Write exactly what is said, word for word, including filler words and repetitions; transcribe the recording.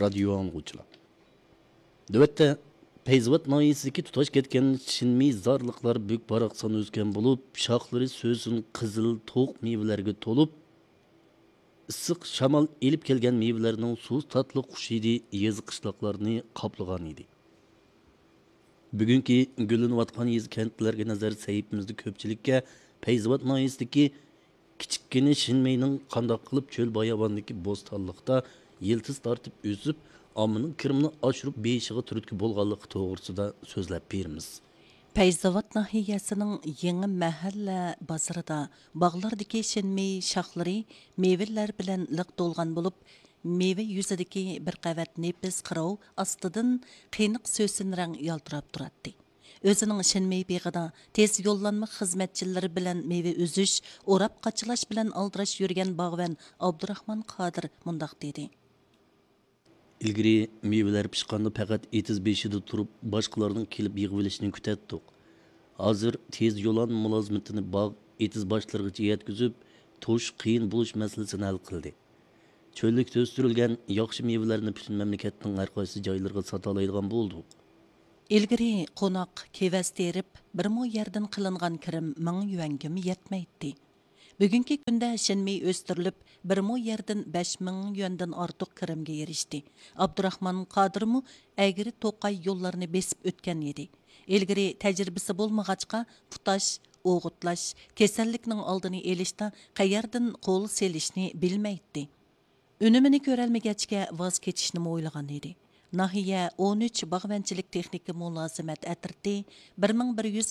رادىيو ئاڭلىغۇچىلار، نۆۋەتتە پەيزاۋات ناھىيەسىدىكى تۇتاش كەتكەن شىنمېي زارلىقلار بۈك-باراقسان ئۆسكەن بولۇپ، شاخلىرى سۆسۈن قىزىل توق مېۋىلەرگە تولۇپ، ئىسسىق شامال ئېلىپ كەلگەن مېۋىلەرنىڭ سۇس تاتلىق خۇشى ھىدى يېزا-قىشلاقلارنى قاپلىغان ئىدى. بۈگۈنكى گۈللىنىۋاتقان يېزا-كەنتلەرگە نەزەر سەھىپىمىزدە كۆپچىلىككە پەيزاۋات ناھىيەسىدىكى كىچىككىنە شىنمېينىڭ قانداق قىلىپ چۆل باياۋاندىكى بوستانلىقتا يىلتىز تارتىپ ئۆسۈپ، ئاممىنىڭ كىرىمىنى ئاشۇرۇپ بېيىشىغا تۈرتكە بولغانلىقى توغرىسىدا سۆزلەپ بېرىمىز. پەيزاۋات ناھىيەسىنىڭ يېڭى مەھەللە بازىرىدا باغلاردىكى شىنمېي شاخلىرى مېۋىلەر بىلەن لىق تولغان بولۇپ، مېۋە يۈزىدىكى بىر قەۋەت نېپىز قىروۋ ئاستىدىن قېنىق سۆسۈن رەڭ يالتىراپ تۇراتتى. ئۆزىنىڭ شىنمېي بېغىدا تېز يوللانما خىزمەتچىلىرى بىلەن مېۋە ئۈزۈش، ئوراپ قاچىلاش بىلەن ئالدىراش يۈرگەن باغۋەن ئابدۇراخمان قادىر مۇنداق دېدى. ئىلگىرى مېۋىلەر پىشقاندا پەقەت ئېتىز بېشىدا تۇرۇپ، باشقىلارنىڭ كېلىپ يىغىۋېلىشىنى كۈتەتتۇق. ھازىر تېز يولان مۇلازىمىتىنى باغ، ئېتىز باشلىرىغىچە يەتكۈزۈپ، توشۇش قىيىن بولۇش مەسىلىسىنى ھەل قىلدى. چۆللۈكتە ئۆستۈرۈلگەن ياخشى مېۋىلەرنى پۈتۈن مەملىكەتنىڭ ھەر قايسى جايلىرىغا ساتالايدىغان بولدۇق. ئىلگىرى قوناق، كېۋەز تېرىپ، بىر مو يەردىن قىلىنغان كىرىم مىڭ يۈەنگىمۇ يەتمەيتتى. بۈگۈنكى كۈندە شىنمېي ئۆستۈرۈلۈپ، بىر مو يەردىن بەش مىڭ يۈەندىن ئارتۇق كىرىمگە ئېرىشتى. ئابدۇراخمان قادىرمۇ ئەگرى توقاي يوللارنى بېسىپ ئۆتكەن ئىدى. ئىلگىرى تەجرىبىسى بولمىغاچقا، تۇتاش، ئوغۇتلاش، كېسەللىكنىڭ ئالدىنى ئېلىشتا قەيەردىن قول سېلىشنى بىلمەيتتى. ئۈنۈمىنى كۆرەلمىگەچكە، ۋاز كېچىشنىمۇ ئويلىغان ئىدى. ناھىيە ئون ئۈچ باغۋەنچىلىك تېخنىكا مۇلازىمەت ئەترىتى بىر مىڭ بىر يۈز